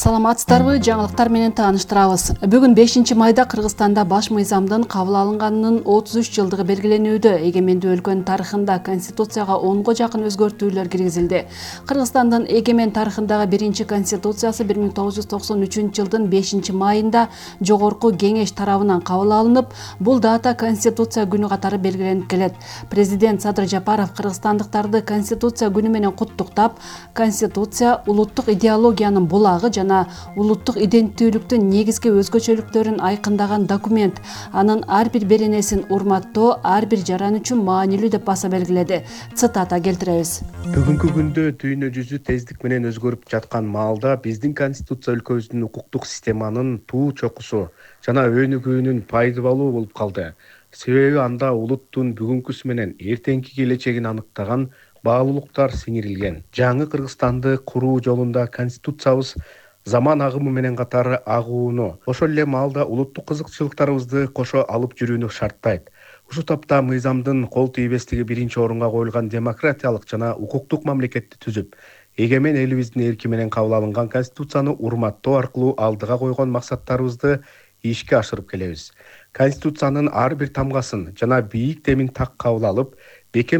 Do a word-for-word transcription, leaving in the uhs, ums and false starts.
Саламатсыздарбы, жаңылыктар менен тааныштырабыз. Бүгүн бешинчи майда Кыргызстанда баш мыйзамдын кабыл алынганынын отуз үч жылдыгы белгиленүүдө. Эгемендүү өлкөнүн тарыхында Конституцияга онго жакын өзгөртүүлөр киргизилди. Кыргызстандын эгемен тарыхындагы биринчи Конституциясы бир миң тогуз жүз токсон үчүнчү жылдын бешинчи майында Жогорку Кеңеш тарабынан кабыл алынып, бул дата Конституция күнү катары белгиленип келет. Президент Садыр Жапаров кыргызстандыктарды Конституция күнү менен куттуктап, Конституция улуттук идеологиянын булагы жана улуттук иденттүүлүктүн негизги өзгөчөлүктөрүн айкындаган документ. Анын ар бир беренесин урматтоо ар бир жаран үчүн маанилүү деп баса белгиледи. Цитата келтиребиз. Бүгүнкү күндө дүйнө жүзү тездик менен өзгөрүп жаткан маалда биздин Конституция өлкөбүздүн укуктук системанын туу чокусу жана өнүгүүнүн пайдалуу болуп калды. Себеби анда улуттун бүгүнкүсү менен эртеңки келечегин аныктаган баалуулуктар сиңирилген. Жаңы Кыргызстанды куруу жолунда Конституциябыз заман агымы менен катары агууну, ошол эле маалда улуттук кызыкчылыктарыбызды кошо алып жүрүүнү шарттайт. Ушул тапта мыйзамдын кол тийбестиги биринчи орунга коюлган демократиялык жана укуктук мамлекетти түзүп, эгемен элибиздин эрки менен кабыл алынган Конституцияны урматтоо аркылуу алдыга койгон максаттарыбызды ишке ашырып келебиз. Конституциянын ар бир тамгасын жана бийик демин так кабыл алып, бекем